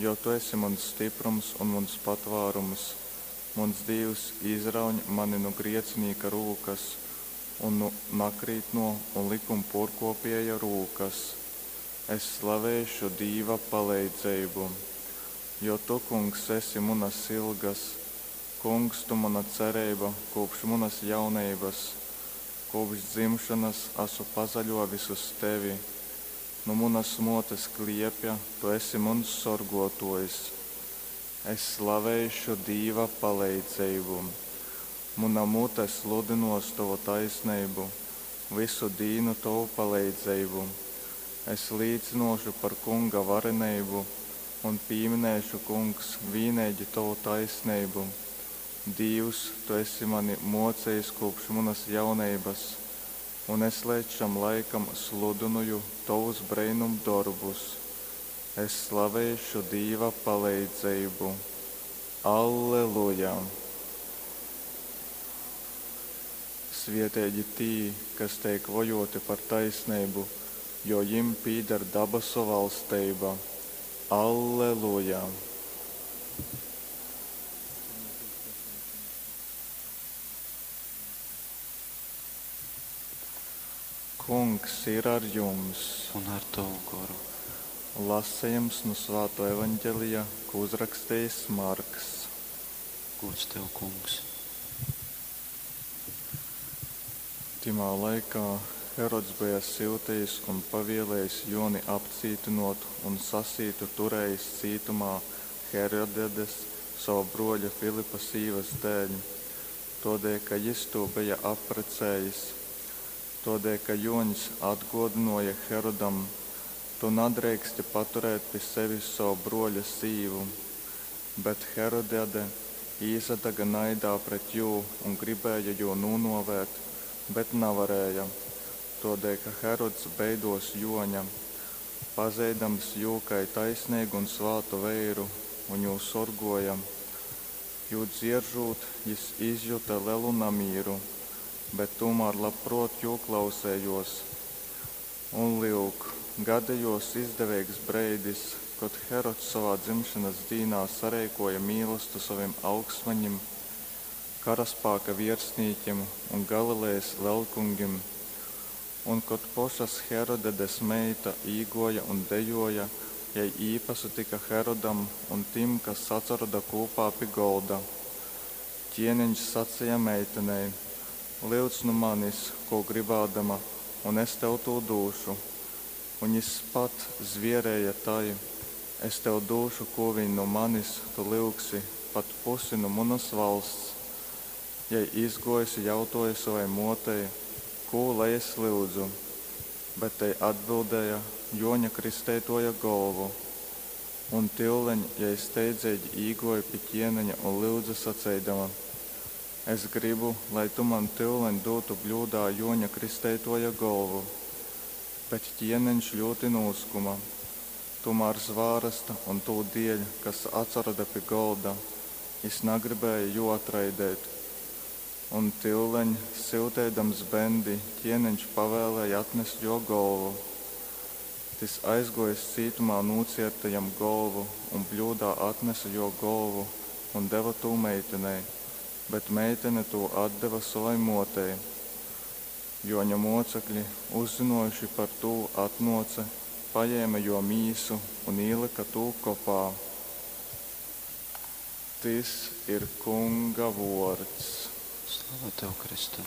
Jo tu esi muns styprums un muns patvārums, muns Dīvs, izrauņ mani nu griecinīka rūkas un nu nakrītnō un likumpuorkuopieja rūkas. Es slaveišu Dīva paleidzeibu. Jo tu, Kungs, esi munas ilgas, Kungs, tu muna cereiba kūpš munas jauneibas. Kūpš dzimšonas asu pasaļōvis uz tevi, nu munas mōtes kliepja tu esi muns sorgōtōjs. Es slaveišu Dīva paleidzeibu. Muna mute sludynōs tovu taisneibu, vysu dīnu tovu paleidzeibu. Es līcynōšu par Kunga vareneibu un pīminēšu, Kungs, vīneigi tovu taisneibu. Dīvs, tu esi mani mōcejis kūpš munas jauneibas, un es leidz šam laikam sludynoju tovus breinumdorbus. Es slaveišu Dīva paleidzeibu. Alleluja! Svieteigi tī, kas teik vojōti par taisneibu, jo jim pīdar dabasu valsteiba. Alleluja! Kungs ir ar jums! Un ar tovu goru. Lasejums nu Svātō Evaņgelija, ko uzrakstījis Marks. Gods tev, Kungs. Tymā laikā Herods beja syutejis un pavielējis Jōni apcītynōt un sasītu turējis cītumā Herodiades, sova brōļa Filipa sīvas dēļ, tōdēļ ka jys tū beja apprecējis. Tōdēļ ka Jōņs atgōdynōja Herodam, Tu nadreiksti paturēt pi sevis sova brōļa sīvu. Bet Herodiade īsadaga naidā pret jū un gribēja jū nūnōvēt, bet navarēja, tōdēļ ka Herods beidōs Jōņa, pazeidams jū kai taisneigu un svātu veiru, un jū sorgōja. Jū dzieržūt, jys izjuta lelu namīru, bet tūmār labprōt jū klausējōs. Un, lyuk, gadejōs izdeveigs breidis, kod Herods sovā dzimšonas dīnā sareikōja mīlastu sovim augstmaņim, karaspāka viersnīkim un Galilejas lelkungim. Un, kod pošas Herodedes meita īgōja un dejōja, jei īpasatyka Herodam un tim, kas atsaroda kūpā pi golda. Ķieneņš saceja meitenei, Lyudz nu manis, kū grybādama, un es tev tū dūšu. Un jis pat zvierēja tai, Es tev dūšu, kū viņ nu manis tu lyugsi, pat pusi nu munas valsts. Jei izguojusi jautuoja sovai muotei, Kū lai es lyudzu? Bet tei atbildēja, Juoņa Kristeituoja golvu. Un tyuleņ jei steidzeigi īguoja pi ķieneņa un lyudze saceidama, Es grybu, lai tu man tyuleņ dūtu bļūdā Juoņa Kristeituoja golvu. Bet ķieneņš ļūti nūskuma. Tūmār zvārasta un tū dieļ, kas atsaroda pi golda, jis nagribēja jū atraideit. Un tyuleņ, syuteidams bendi, ķieneņš pavēlēja atnest juo golvu. Tys aizguojis cītumā nūcierta jam golvu un bļūdā atnese juo golvu un deva tū meitenei, bet meitene tū atdeva sovai muotei. Juoņa muocekļi, uzzynuojuši par tū, atnuoce, pajēme juo mīsu un īlyka tū kopā. Tys ir Kunga vuords. Slava tev, Kristu!